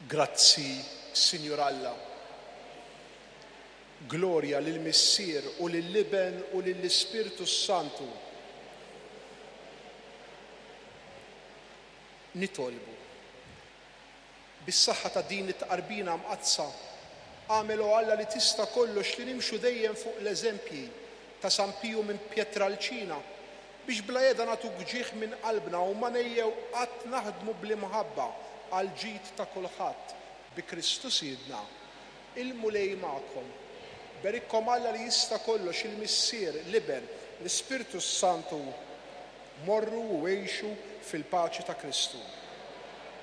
Grazzi, Sinjur Alla. Glorja lill-Missier u lill-Iben u lill-Ispirtu s-Santu. Nitolbu. Bis-saħħa ta' din it-tqarbina mqaddsa, agħmel o Alla li tista' kollox li nimxu dejjem fuq l-eżempji ta' San Piju minn Pietralcina, biex bla heda nagħtuk ġieħ minn qalbna u ma ngħejjew qatt naħdmu bl-imħabba għall-ġid ta' kulħadd, bi Kristu Sidna. Il-Mulej magħkom. Berikkom Alla li jista' kollox, il-Missier, l-Iben, l-Ispirtu s-Santu. Morru u għixu fil-paċi ta' Kristu.